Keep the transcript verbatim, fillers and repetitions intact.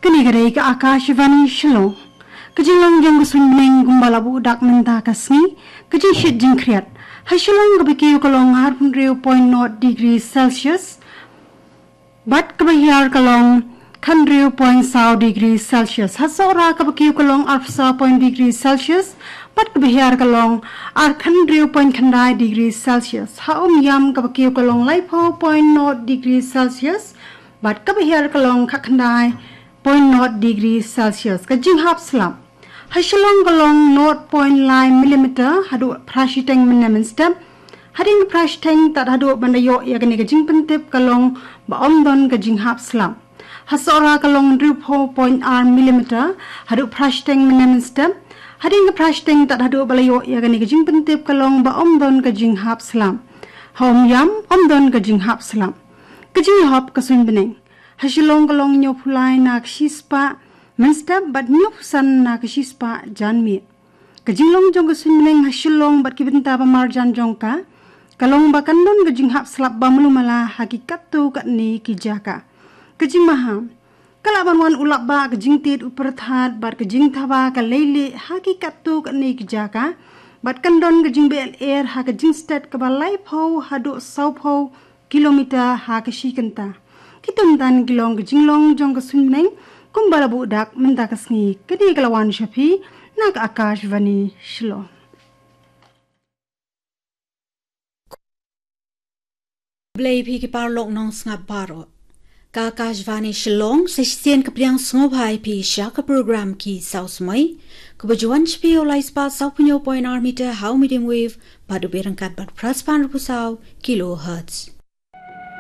Kane ka dei ka Akashvani Shillong. Ka jinglong jong ka suiñ bneng kumba la buh dak mynta ka sngi, ka jingshit jingkhriat. Ha Shillong kaba kiew ka long arphew hynriew point nought degree Celsius. Bad kaba hiar ka long khathynriew point saw degree Celsius. Ha Sohra kaba kiew ka long arphew saw point degree Celsius. Bad kaba hiar ka long ar khathynriew point khyndai degree Celsius. Ha Umiam kaba kiew ka long laiphew point nought degree Celsius. Bad kaba hiar ka long khatkhyndai point nought degree Celsius. Ka jinghap slap. Ha Shillong ka long nought point lai millimeter haduh phra shiteng mynne mynstep. Hadien phra shiteng tad haduh ban da ïoh ïa kane ka jingpyntip ka long ba ym don ka jinghap slap. Ha Sohra ka long hynriewphew point ar millimeter haduh phra shiteng mynne mynstep. Hadien phra shiteng tad haduh ba la ïoh ïa kane ka jingpyntip ka long ba ym don ka jinghap slap. Ha Umiam ym don ka jinghap slap. Ka jingïahap ka suiñ bneng. Ha Shillong ka long hynñiewphew lai na ka shispah mynstep bad hynñiewphew san na ka shispah janmiet. Ka jinglong jong ka suiñ bneng ha Shillong bad ki bynta ba marjan jong ka, ka long ba kan don ka jinghap slap ba malu mala ha ki katto katne ki jaka. Ka jingmaham. Ka lah ban wan u lapbah, ka jingtied u pyrthat bad ka jingthaba ka leilieh ha ki katto katne ki jaka. Bad kan don ka jingbeh lyer ha ka jingstet kaba laiphew haduh sawphew kilometer ha ka shi kynta. Kito ki long ki jinglong jong ka suiñ bneng kumba la buh dak mynta ka sngi. Kane ka la wan sha phi na ka Akashvani Shillong. Khublei phi ki paralok nongsngap baroh. Ka Akashvani Shillong, sa shisien ka pdiang sngewbha ïa phi sha ka program Ki Saw Samoi, kaba ju wan sha phi ha u lai spah sawphew hynñiew point ar meter ha u medium wave bad u beh ryngkat bad phra spah hynriewphew saw kilohertz.